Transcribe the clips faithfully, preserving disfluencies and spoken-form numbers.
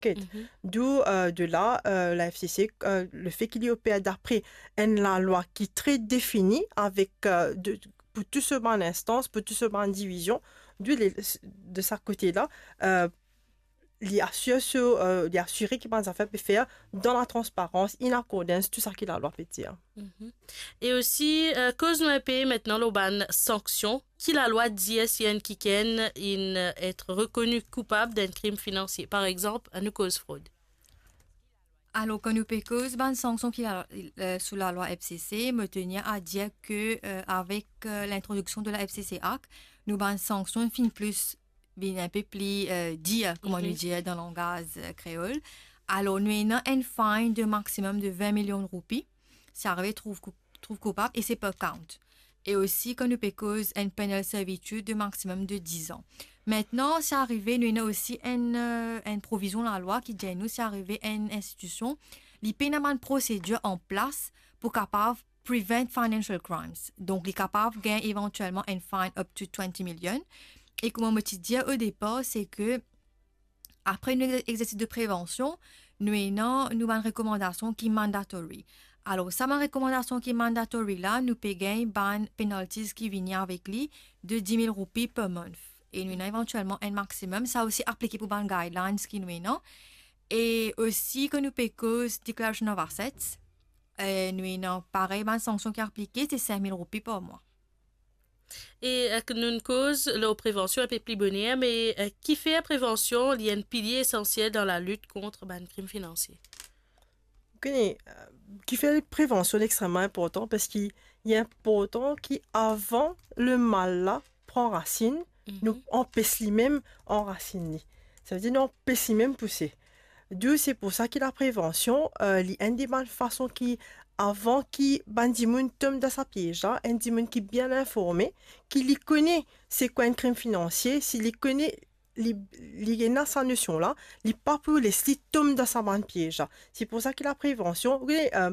Get. Mhm. D'où, euh, de la, euh, la F C C, euh, lefe ki li oper dapre enn lalwa ki tre defini avek, euh, de, pou tou so bann instans, pou tou so bann divizion, d'où li, de sa kote la, euh, li asir so, euh, li asire ki bann zafer pe fer dan la transparans, in accordance, tou sa ki lalwa pe dir. Mhm. E osi, euh, koz nou inpe aster lor bann sanksion, ki lalwa dir si enn kikenn inn, euh, et rekoni koupab d'enn krim finansie. Par exanp, annou koz frod. Alor, kan nou pe koz bann sanksion ki la, euh, sou lalwa F C C, mo tenir a dir ke, euh, avek, euh, lintrodiksion de la F C C Act, nou bann sanksion finn plis, vinn inpe pli, euh, dir, kouma nou dir dan langaz, euh, kreol. Alor, nou ena enn fine de maximum de vin milion roupi, si arive trouv kou-, trouv koupab, e se per count. E osi, kan nou pe koz enn penal servitude de maximum de diz an. Aster, si arive, nou ena osi enn, euh, enn provizion lalwa ki dir nou, si arive enn institision, li pena bann prosedir an plas pou kapav prevent financial crimes. Donk, li kapav gagn evantielman enn fine up to twenty million. E kouma mo ti dir o depar, se ke apre nou exersis de prevansion, nou ena nou bann rekomandasion ki mandatory. Alor, sa bann rekomandasion ki mandatory la, nou pe gagn bann penalties ki vini avek li de dix mille roupi per month. E nou ena evantielman enn maximum, sa osi aplike pou bann guidelines ki nou ena. E osi, kan nou pe koz declaration of assets, eh, nou ena parey bann sanksion ki aplike, se cinq mille roupi par mwa. E, eh, nou'nn koz lor prevansion inpe pli boner, me, eh, kifer prevansion li enn pilie esansiel dan lalit kont bann krim finansie? Ou kone, eh, kifer prevansion li extreman inportan, parski li inportan ki avan lemal la pran rasinn, nou anpes limem anrasinn li. Savedir nou anpes limem pouse. D'où se pou sa ki laprevansion, eh, li enn de bann fason ki, avan ki bann dimoun tom dan sa piez la, enn dimoun ki bien informe, ki li kone se kwa enn krim finansie, si li kone, li, li ena sa nosion la, li pa pou les li tom dan sa bann piez la. Se pou sa ki laprevansion, wi, eh,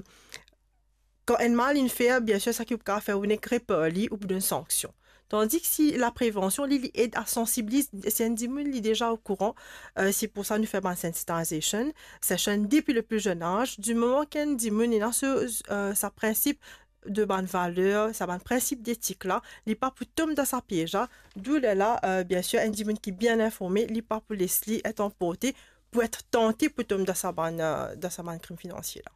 kan enn mal inn fer, biensir, seki ou kapav fer, ou nek reper li, ou pou donn sanksion. Tandis ki si laprevansion, li, li ed a sansibiliz, si enn dimoun li deza okouran, eh, se pou sa nou fer bann sensitization session depi le pli zenn az. Di moman ki enn dimoun ena so, eh, sa prinsip de bann valer, sa bann prinsip detik la, li pa pou tom dan sa piez la. D'où lerla, eh, biensir, enn dimoun ki bien informe, li pa pou les li et anporte, pou et tante pou tom dan sa bann, eh, dan sa bann krim finansie la.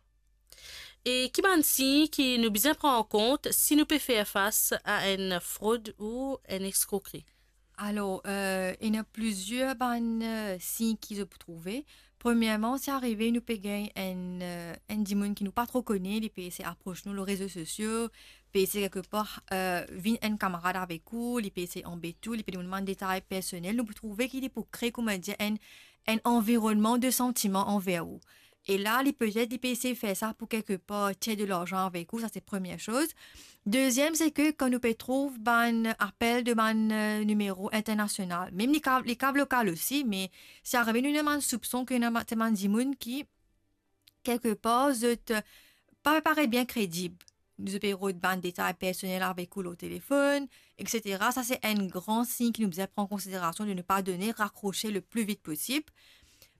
E ki bann sign ki nou bizin pran an kont si nou pe fer fas a enn frod ou enn eskrokri? Alor, eh, ena plizier bann, eh, sign ki zot pou trouve. Premierman, si arive nou pe gagn enn, eh, enn dimoun ki nou pa tro kone, li pe esey apros nou lor rezo sosio, pe esey kelkepar, eh, vinn enn kamarad avek ou, li pe esey anbet ou, li pe demann bann detay personel, nou pou trouve ki li pou kre, kouma dir, enn, enn anvironnman de santiman anver ou. E la, li petet, li pe esey fer sa pou kelkepar tir de larzan avek ou, sa se premie soz. Deziem, se ke kan nou pe trouv bann apel de bann, eh, nimero internasional, mem li kav, li kav lokal osi, me si arive nou ena bann soupson ki ena bann, se bann dimoun ki, kelkepar, zot, eh, pa paret bien kredib. Zot pe rod bann detay personel avek ou lor telefonn, et cetera. Sa se enn gran sign ki nou bizin pran konsiderasion de ne pa done, rakrose le pli vit posib.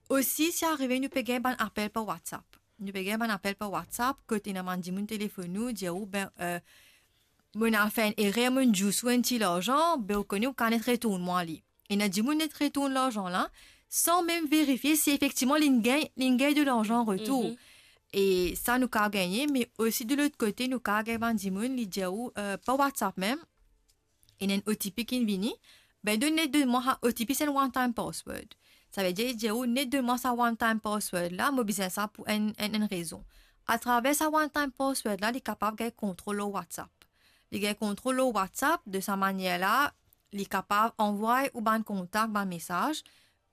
Osi, si arive nou pe gagn bann apel par WhatsApp. Nou pe gagn bann apel par WhatsApp, kot ena bann dimoun telefonn ou, dir ou, be, eh, mo'nn al fer enn erer, mo'nn dous ou enn ti larzan, be ou kone ou kav net retourn mwa li. Ena dimoun net retourn larzan la, san mem verifie si efektivman li'nn gagn, li'nn gagn de larzan an retour. Mhm. E sa nou kav gagne, me osi de lot kote, nou kav gagn bann dimoun, li dir ou, eh, par WhatsApp mem, ena enn O T P ki'nn vini, be donn, net donn mwa sa O T P, se enn one time password. Savedir, li dir ou, net donn mwa sa one time password la, mo bizin sa pou enn, enn, enn rezon. Atraver sa one time password la, li kapav gagn kontrol lor WhatsApp. Li gagn kontrol lor WhatsApp, de sa manier la, li kapav anvoy ou bann kontak bann mesaz,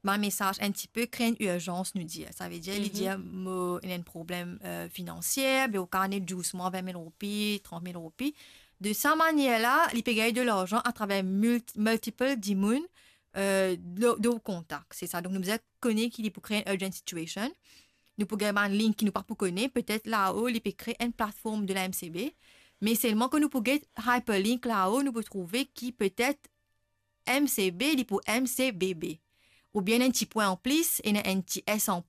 bann mesaz enn tipe kre enn irzans, nou dir. Savedir, li dir, mo ena enn problem, eh, finansie, be ou kav net dous mwa vin mil roupi, trant mil roupi. De sa manier la, li pe gagn de larzan atraver multi-, multiple dimoun, eh, de, de ou kontak. Se sa. Donk, nou bizin kone ki li pou kre enn urgent situation. Nou pou gagn bann link ki nou pa pou kone. Petet lao, li pe kre enn platform de la M C B. Me selman kan nou pou get hyperlink lao, nou pou trouve ki petet M C B, li pou M C B B. Oubien enn ti pwin anplis, ena enn ti S anplis,